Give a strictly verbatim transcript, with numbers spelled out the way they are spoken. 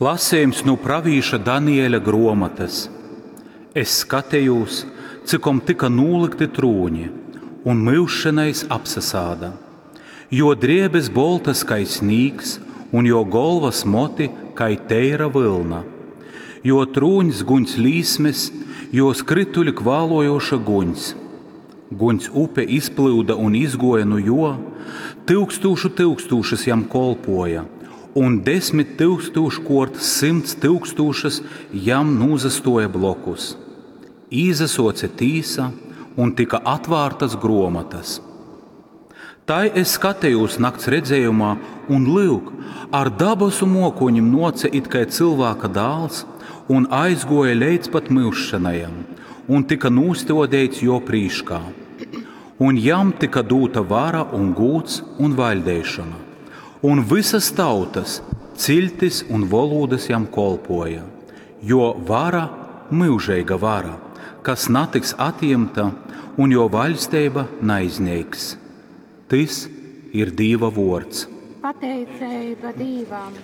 Lasejums nu pravīša Daniela gruomotys. Es skatejūs, cikom tyka nūlykti trūņi, un Myužsenais apsasāda. Juo drēbes boltas kai snīgs, un juo golvas moti kai teira vylna. Juo trūņs guņs līsmes, juo skrytuļi kvālojoša guņs. Guņs upe izplyuda un izguoja nu juo, tyukstūšu tyukstūšas jam kolpoja, un desmit tyukstūškuort symts tyukstūšas jam nūsastuoja blokus. Īzasuoce tīsa un tyka atvārtas gruomotys. Tai es skatejūs nakts redzējumā, un lyuk, ar dabasu muokoņim nuoce it kai cylvāka dāls un aizguoja leidz pat Myužsenajam un tyka nūstuodeits juo prīškā. Un jam tyka dūta vara un gūds un vaļdeišona, un vysas tautas, ciļtis un volūdys jam kolpoja, jo vara myužeiga vara, kas natiks atjimta, un jo vaļsteiba naizneiks. Tys ir Dīva vuords. Pateiceiba Dīvam!